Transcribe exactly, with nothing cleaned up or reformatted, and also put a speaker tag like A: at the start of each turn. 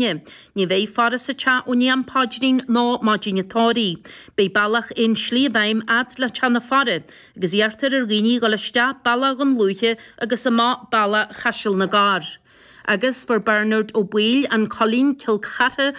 A: Ní bheidh faire sa teach ó ndiaidh an paidrín nó maidin an tórraimh. Beidh bealach aon slí i bhfeidhm fhad le teach na faire, agus iarrtar ar dhaoine dhul isteach bealach Dhún Lúiche agus amach bealach Chaiseal na gCorr. Agus fuair Bernard Ó Baoill, An Coillín, Cill Chartha,